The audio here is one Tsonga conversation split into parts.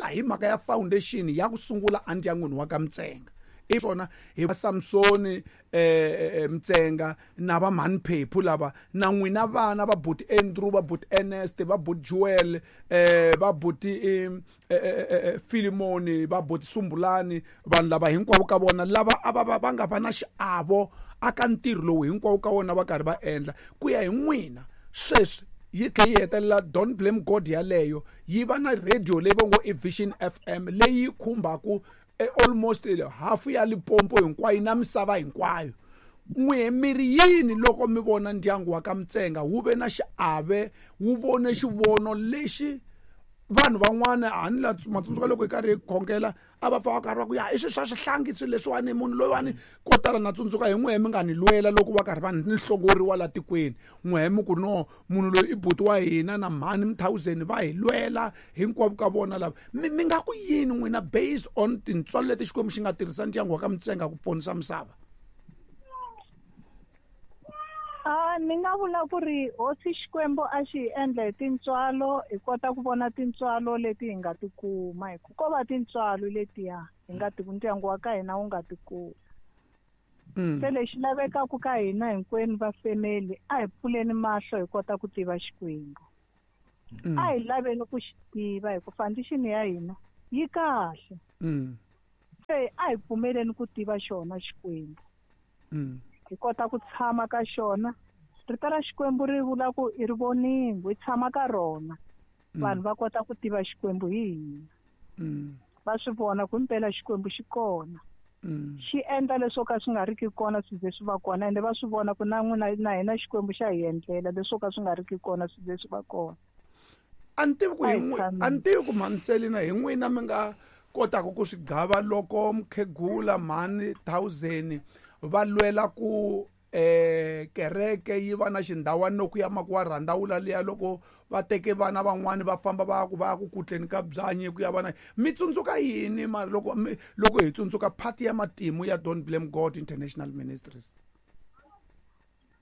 tlhela hi mhaka ya foundation ya ku sungula endyangwini wa ka Mtsenga. I swona hi Samsoni Mtsenga na va mhani Phephu lava na n'wina vana va buti Andrew, va buti Ernest, va buti Joel, va buti Philemon, va buti Sumbulani, vanhu lava hinkwavo ka vona lava a va va nga va na xiavo aka ntirho lowu hinkwavo ka vona va karhi va endla. Ku ya hi n'wina sweswi yi tlhe yi hetelela Don't Blame God yaleyo yi va na radio leyi va ngo i Vision FM leyi yi khumbaku almost half ya Limpopo hinkwayo na misava hinkwayo. N'we mi ri yini loko mi vona ndyangu wa ka Mtsenga wu ve na xiave, wu vone xivono lexi vanhu van'wana a ni la matsundzuka loko hi karhi hi khongela a va pfa va karhi va ku ya i swilo swa swihlangi swilo leswiwani munhu loyiwani ko tala na tsundzuka hi n'wehe mi nga ni lwela loko va karhi va ni hlongoriwa la tikweni. N'wehe mi ku no munhu loyi i buti wa hina na mhani Mthawuzeni va hi lwela hinkwavo ka vona lava. Mi nga ku yini n'wina based on tintswalo leti Xikwembu xi nga tirhisa ndyangu wa ka Mtsenga ku ponisa misava? Ni nga vula ku ri hosi Xikwembu a xi hi endla hi tintswalo, hi kota ku vona tintswalo leti hi nga ti kuma, hi ku ko va tintswalo letiya hi nga ti ndyangu wa ka hina wu nga ti kuma. Se lexi lavekaka ka hina hinkwenu va family, a hi pfuleni mahlo hi kota ku tiva Xikwembu. A hi laveni ku xi tiva hi ku foundation ya hina yi kahle. Se a hi pfumeleni ku tiva xona Xikwembu. Hi kota ku tshama ka xona. Rito ra Xikwembu ri vula ku i ri voningo, hi tshama ka rona. Vanhu va kota ku tiva Xikwembu hi hina. Va swi vona ku impela Xikwembu xi kona. Xi endla leswo ka swi nga ri ki kona swi ze swi va kona, ende va swi vona ku na n'wina na hina Xikwembu xa hi endlela leswo ka swi nga ri ki kona swi ze swi va kona. A ni tivi ku hi n'wi, a ni tivi ku mhani Selina hi n'wina mi nga kotaka ku swi gava loko mukhegula mhani Thousand va lwela ku kereke yi va na xindhawana loko ya makuwa rhandawula liya loko va teke vana van'wani va famba va ku va ya ku kutleni ka byanyi ku ya vana. Mi tsundzuka yini mara loko mi, loko hi tsundzuka part ya matimu ya Don't Blame God International Ministries?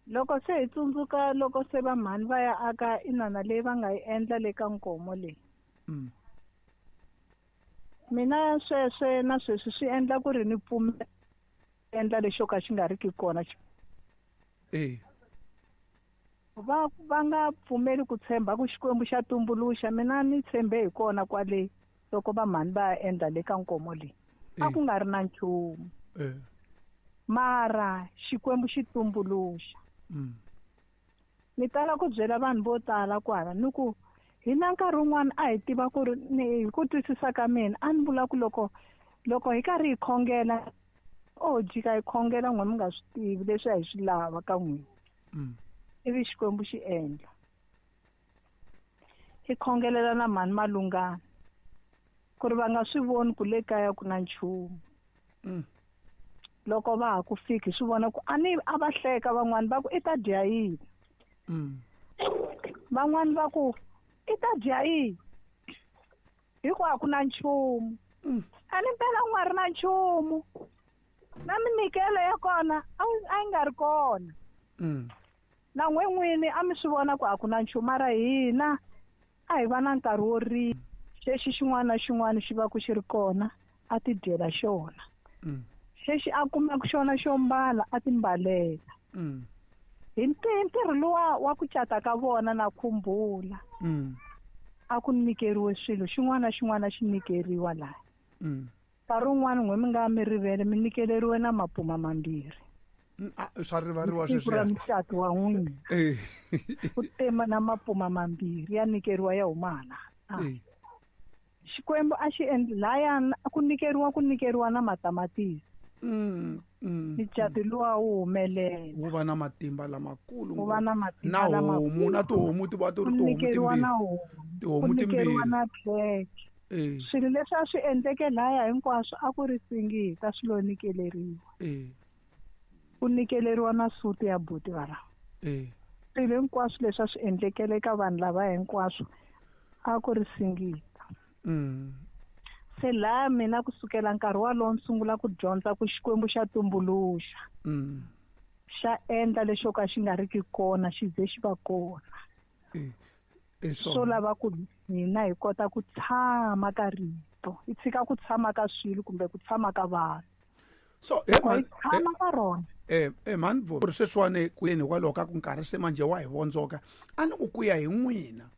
Loko se hi tsundzuka loko se va mhani va ya aka inana leyi va nga yi endla le ka Nkomo leyi. Mina sweswe na sweswi swi endla ku ri ni pfumela endla lexo ka xi nga ri ki kona. Va nga pfumeli ku tshemba ku Xikwembu xa tumbuluxa, mina ni tshembe hi kona kwale loko va mhani va ya endla le ka Nkomo leyi. A ku nga ri na nchumu. Mara Xikwembu xi tumbuluxa. Ni tala ku byela vanhu vo tala kwala ni ku hina nkarhi wun'wana a hi tiva ku ri ni hi ku twisisa ka mina a ni vula ku loko hi karhi hi khongela o jika hi khongela n'we mi nga swi tivi leswi a hi swi lava ka n'wina. Ivi Xikwembu xi endla. Hi khongelela na mhani Malungana ku ri va nga swi voni ku le kaya ku na nchumu. Loko va ha ku fiki swi vona ku a ni a va hleka van'wani va ku i ta dya yini. Van'wani va ku i ta dya yini hikuva a ku na nchumu. A ni mpela ku nga ri na nchumu. Na minyikelo ya kona a yi nga ri kona. Na n'we n'wini a mi swi vona ku a ku na nchumu, mara hina a hi va na nkarhi wo rila. Xexi xin'wana na xin'wana xi va ku xi ri kona a ti dyela xona. Xexi a kumaka xona xo mbala a ti mbalela. Hi ntirho luwa wa ku cata ka vona na khumbula. A ku nyikeriwe swilo xin'wana na xin'wana xi nyikeriwa laha. Nkarhi wun'wana n'we mi nga mi rivele mi nyikeleriwe na mapuma mambirhi. Swa rivariwa Siku sweswiya. ra mucato wa n'wina. Ku tema na mapuma mambirhi ya nyikeriwa ya huma hala. Xikwembu a xi endli laya ku nyikeriwa ku nyikeriwa na matamatisi. Mucato luwa wu humelela. Wu va na matimba lamakulu Wu va na matimba Na lamakulu. homu, na tihomu ti va ti ri Ku tihomu nyikeriwa timbirhi. na homu. Tihomu Ku nyikeriwa timbirhi. na khekhe. Swilo leswi a swi endleke laya hinkwaswo a ku ri singita swi lo nyikeleriwa. Ku nyikeleriwa na suti ya buti va lava. Swilo hinkwaswo leswi a swi endlekele eka vanhu lava hinkwaswo a ku ri singita. Se laha mina kusukela nkarhi walowo ni sungula ku dyondza ku Xikwembu xa tumbuluxa. Xa endla lexo ka xi nga ri ki kona xi ze xi va kona. Swo lava ku Hina hi kota ku tshama ka rito, hi tshika ku tshama ka swilo kumbe ku tshama ka vanhu. So he man, tshama ka rona. Man ri sweswiwani kuyeni hikwalaho ka ku nkarhi se manje wa hi vondzoka, a ni ku ku ya hi n'wina.